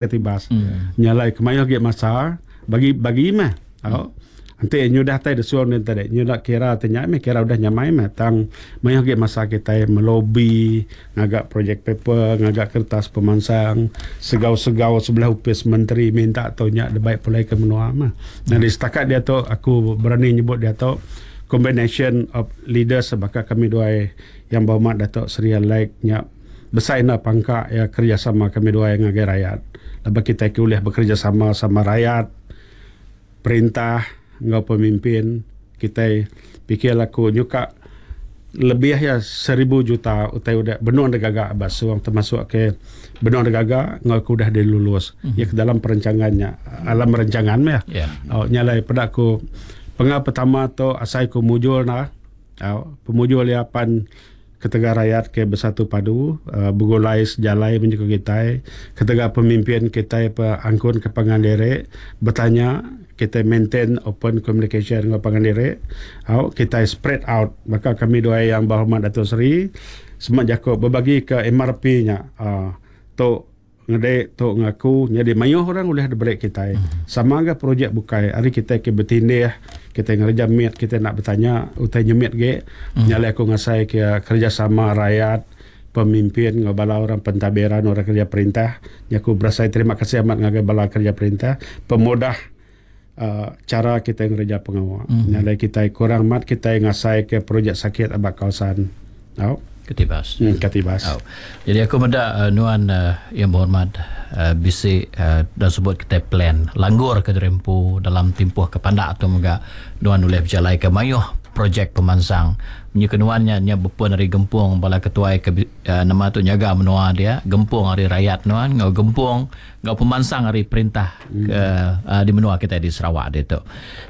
Katibas. Nya alai kemayuh agi masa bagi bagi meh. Au. Enti nyudah tai desun din tadi nyudah kira ti nya meh kira udah nyamai meh tang mayuh agi masa kitai melobi ngaga projek paper ngaga kertas pemansang segau-segau sebelah opis menteri minta tu nya dibai pulai ke menua meh. Nyadi setakat diatu aku berani nyebut diatu combination of leaders baka kami duai Yang Berhormat Dato Seri Alec nya Besai enda pangka iya kerejasama kami duai ngagai rayat laban kitai ke ulih bekerejasama sama rayat, perintah enggau pemimpin kitai pikir aku nyuka lebih iya seribu juta utai udah benung digaga ba Song termasuk ke benung digaga enggau ke udah dilulus iya ke dalam perancangan nya alam rancangan meh. Nya alai peda ku penga pertama tu asai ku mujur nah. Au, pemujur iya pan ketegal rayat ke besatu padu begulai sejalai men jaku kitai, ketegal pemimpin kitai pe angkun ke pangan diri betanya kitai maintain open communication enggau pangan diri au kitai spread out baka kami duai Yang Berhormat Dato Sri sema jaku bebagi ke MRP nya uhh tu Ngede tu ngaku nyadi mayuh orang ulih diberi kitai. Sama ga projek bukai ari kitai ke betindih, kitai ngereja mit kitai enda betanya utai nyemit ge. Nya alai aku ngasai ke kerejasama rayat, pemimpin enggau bala orang pentadbiran orang kereja perintah. Nya aku berasai terima kasih amat ngagai bala kereja perintah pemudah uhh chara kitai ngereja pengawa. Nya alai kitai kurang amat kitai ngasai ke projek sakit aba kawasan. Au. Katibas. Hmm, Katibas. Au. Jadi aku meda uh, nuan uh, yang berhormat uh, bisi uh, dah sebut kita plan langgur ke dirempu dalam timpuh ke pandak tu mega nuan ulih bejalai ke mayuh projek pemansang. Menyu ke nuan nya nya bepun ari gempung bala ketuai ke uh, nama tu nyaga menua dia, gempung ari rakyat nuan enggau gempung enggau pemansang ari perintah ke uh, di menua kitai di Sarawak ditu.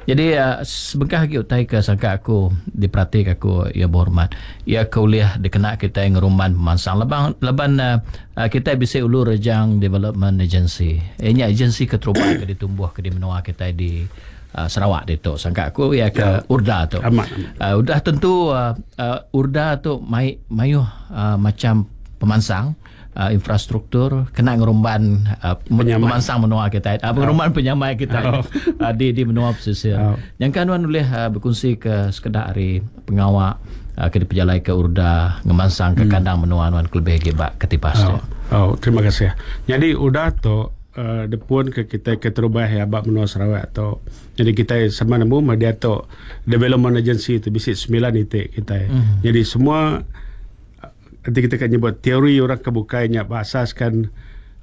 Jadi uh, sebengkah agi utai ke sangka aku diperatika aku ya berhormat ia ke ulih dikena kitai ngerumban pemansang laban laban uh, kitai bisi Ulu Rejang Development Agency. Inya agensi keterubah ke ditumbuh ke di menua kitai di uh, Sarawak ditu. Sangka aku ia ke ya. URDA tu. Amat. Uh, udah tentu uh, uh, URDA tu mai mayuh uh, macam pemansang infrastruktur kena ngerumban pemansang menua kitai ngerumban penyamai kitai di di menua pesisir. Nyangka nuan ulih bekunsi ke sekeda ari pengawa ke dipejalai ke URDA ngemansang ke kandang menua nuan kelebih agi ba Katibas tu. Oh, terima kasih. Nyadi URDA tu depun ke kitai keterubah iya ba menua Sarawak tu. Nyadi kitai sama nemu meh diatu development agency tu bisi semilan iti kitai. Nyadi semua Enti kita ka nyebut teori orang ke bukai nya beasaskan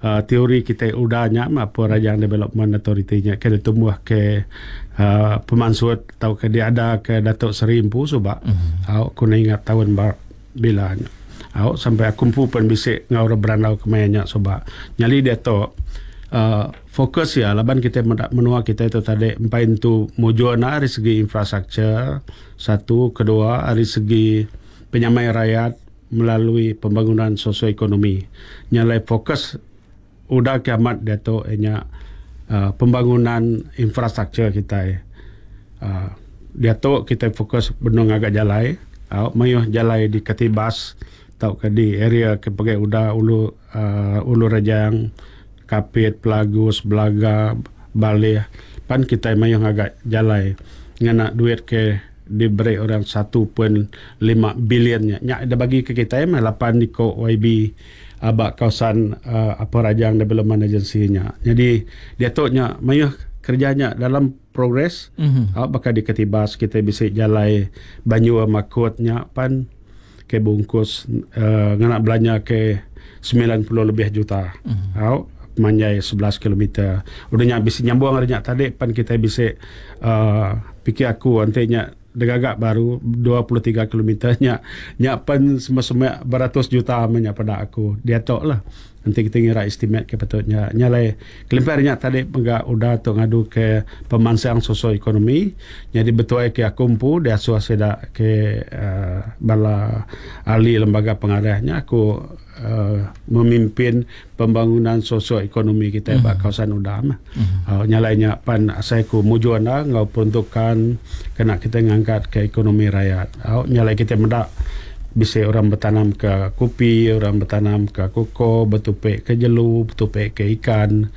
uhh teori kitai udah nya mah apu Rajang Development Authority nya ke ditumbuh ke uhh pemansut tauka diada ke Dato Seri empu suba au ku enda ingat taun ba bila nya. Au sampai aku empu pun bisi enggau orang berandau ke maya nya suba. Nyadi diatu uhh fokus iya laban kitai meda menua kitai tu tadi empai entu mujur enda ari segi infrastructure satu kedua ari segi penyamai rayat melalui pembangunan sosioekonomi. Nya alai fokus udah ke amat diatu iya nya uhh pembangunan infrastruktur kitai. uhh Diatu kitai fokus benung ngaga jalai au mayuh jalai di Katibas tauka di area ke pegai udah ulu uhh Ulu Rejang, Kapit, Pelagus, Belaga, Baleh pan kitai mayuh ngaga jalai ngena duit ke diberi orang 1.5 bilion nya. Nya da bagi ke kitai meh lapan iko YB aba kawasan uhh Upper Rajang Development Agency nya. Nyadi diatu nya mayuh kerja nya dalam progress au baka di Katibas kitai bisi jalai Banjur Makut nya pan ke bungkus uhh ngena belanja ke 90 lebih juta au pemanjai 11 kilometer. Udah nya bisi nyambung ari nya tadi pan kitai bisi uhh pikir aku enti nya digaga baru 23 kilometer nya nya pen semua-semua beratus juta meh nya peda aku diatu lah. Enti kita ngira estimate ke patut nya. Nya alai kelimpah ari nya tadi mega udah tu ngadu ke pemansang sosioekonomi nyadi betuai ke aku empu diasuh sida ke uhh bala ahli lembaga pengarah nya aku uhh memimpin pembangunan sosioekonomi kitai ba kawasan udah meh. Uhh nya alai nya pan asai ku mujur enda enggau peruntukan kena kitai ngangkat ke ekonomi rayat. Au nya alai kitai meda. Bisa orang bertanam ke kopi, orang bertanam ke koko, betupi ke jelu, betupi ke ikan.